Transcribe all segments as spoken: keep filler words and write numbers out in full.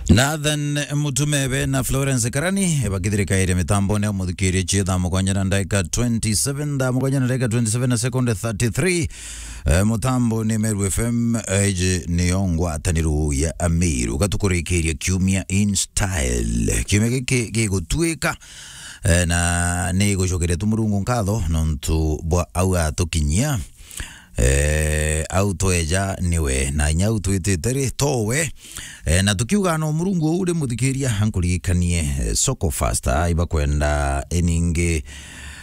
Nathan Mutumebe na Florence Karani bakithirikaire mitambone ya muthikiria cia thaa mugwanja na ndagika twenty-seven, thaa mugwanja na ndagika twenty-seven na sekunde thirty-three. Eh, mutambo ni Meru F M, eh, iji niyo ngwataniro ya Amiru. Gatukurikiria kiumia in style. Kiumia giki gigutwika, eh, na ni gucokeria tu Murungu nkatho nontu bwa au atukinyia. Eh, au tweja niwe, na inya au twitite ri, towe. Eh, na tukiuga no Murungu uu ri muthikiria, ankurikanie, eh, Soko Fasta, ibakwenda iningi,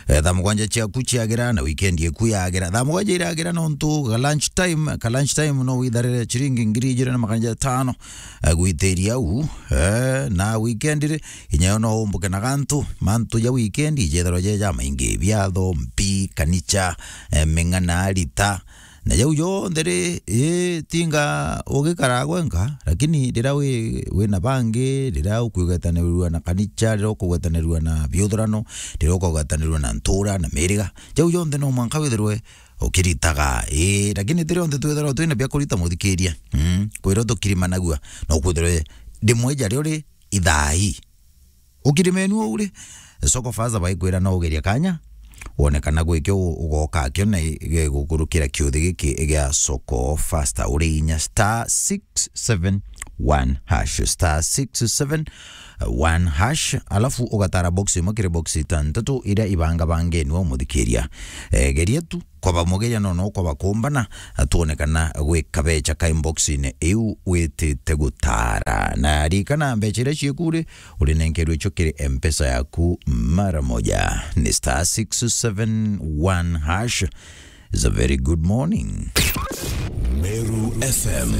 eh, thaa mugwanja ciaku ciagira na weekend iku yagira. Thaa mugwanja iragira nontu ga lunch time, ka lunch time no witharire ciringi ngiri ijiri na magana jatano, eh, gwitiria au, eh, na weekend ri, inya yo no umbuke na gantu, mantu ja weekend ijethirwa je jamaingi, biatho, mpi, kanicha, eh, ming'ana, rita, na jau jonthe ri, ii, tinga ugikara gwenka, lakini riria wi, wina bangi, riria ukugwetanirua na kanicha, riria ukugwetanirua na biuthurano, riria ukugwetanirua na ntura na miriga, jau jonthe no mwanka withirwe ukiritaga, ii, lakini ti rionthe twithirwa twina bia kurita muthikiria. Mm, kwirwo tukirimanagua, no kwithirwe rimwe ja rio ri ithai. Ukirimenu uu ri, Soko Fasta baikwira no ugeria kanya, wone kana gwi kio u-, ugoka kio na i-, gigukurukira kiuthi giki gia Soko Fasta uri inya star six seven one hash, star six seven one hash, alafu ugatara box imwe kiri box itantatu iria ibangabangenwe umuthikiria. Eh, geria tu, kwaba mugeria no, no kwaba kumbana, twone kana gwi kabecha ka inbox-ine iu witite gutara. Na ririkana, mbecha iria cieku ri, urinenkerwe cio kiri M-Pesa yaku mara moja. Ni star six seven one hash. It's a very good morning. Meru F M.